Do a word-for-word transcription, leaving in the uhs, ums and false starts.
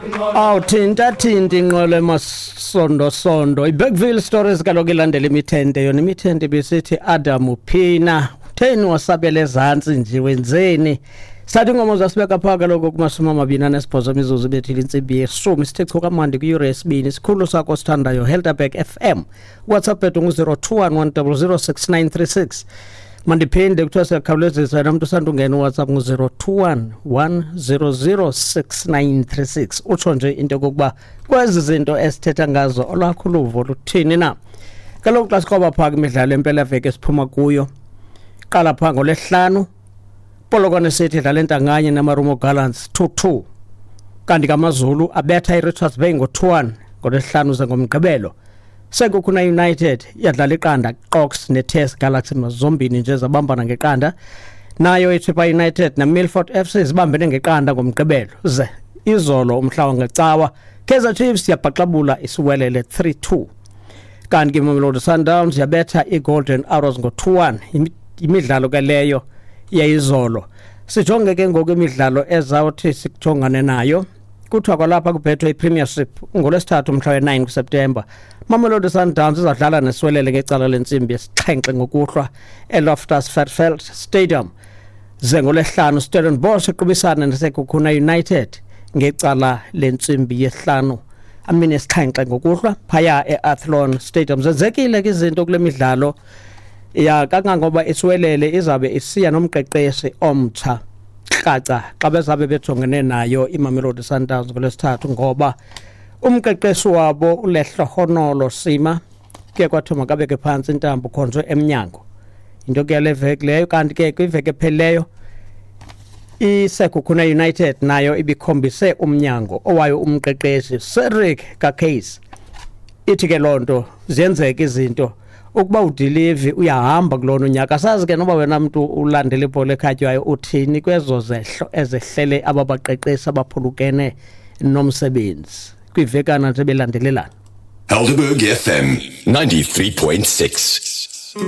Awuthinta thinta inqwelo emasondosondo. IBergville Stories kaloku ilandela imithente yona, imithente besithi Adam uphina utheni wasabela ezantsi nje wenzeni. Sathi ingoma zasibeka phaa kaloku kumashumi amabini anesibhozo imizuzu ibethile intsimbi yeshumi, sithe chu kamandi kwiyure yesibini. Sikhulu sakho sithandayo Helderberg F M. WhatsApp ethu ngu-zero two one one double zero six nine three six. Mandiphinde kuthiwa siyakhawulezisa yena mntu usandungena uWhatsApp ngu-zero two one one zero zero six nine three six. Utsho nje into yokokuba kwezi zinto esithetha ngazo olwakho uluvo luthini na. Kaloku xa sikroba phaa kwimidlalo empelaveki esiphuma kuyo, qala phaa ngolwesihlanu, Polokwane City idlala entanganye neMarumo Gallants two two. Kanti kaMaZulu abetha iRichards Bay ngo-two one ngolwesihlanu ze ngomgqibelo. Sekhukhune United yadlala iqanda Qox neT S Galaxy mazombini nje zabambana ngeqanda. Nayo iChippa United neMilford F C zibambene ngeqanda ngomgqibelo. Ze izolo umhla wangecawa Kaizer Chiefs yabhaxabula isiwelele three two. Kanti ke Mamelodi Sundowns yabetha iGolden Arrows ngo two one. Imidlalo ke leyo yayizolo. Sijonge ke ngoku imidlalo ezawuthi sikujongane nayo. Kuthiwa kwalapha kubhethwe iPremiership ngolwesithathu umhla we-nine kuSeptemba. Mamelodi Sundowns izadlala neswelele ngecala lentsimbi yesixhenxe ngokuhlwa eLoftus Versfeld Stadium. Ze ngolwesihlanu Stellenbosch iqubisana neSekhukhune United ngecala lentsimbi yesihlanu amine esixhenxe ngokuhlwa phaya eAthlone Stadium. Zenzekile ke izinto kule midlalo ya kangangoba iswelele izabe isiya nomqeqeshi omtsha kraca xa bezabe bejongene nayo iMamelodi Sundowns ngolwesithathu, ngoba umqeqeshi wabo uLehlohonolo Sima ke kwathiwa makabeke phantsi intambo khonjwe emnyango. Into ke yale veki leyo. Kanti ke kwiveki ephelileyo iSekhukhune United nayo ibikhombise umnyango owayo umqeqeshi Cedric Kakhase. Ithi ke loo nto ziyenzeka izinto ukuba udilivi uyahamba kulona unyaka. Sazi ke noba wena mntu ulandela ibhola ekhatywayo uthini kwezo zehlo ezehlele ababaqeqeshi abaphulukene nomsebenzi kwivekana nje belandelelana. Helderberg F M ninety-three point six.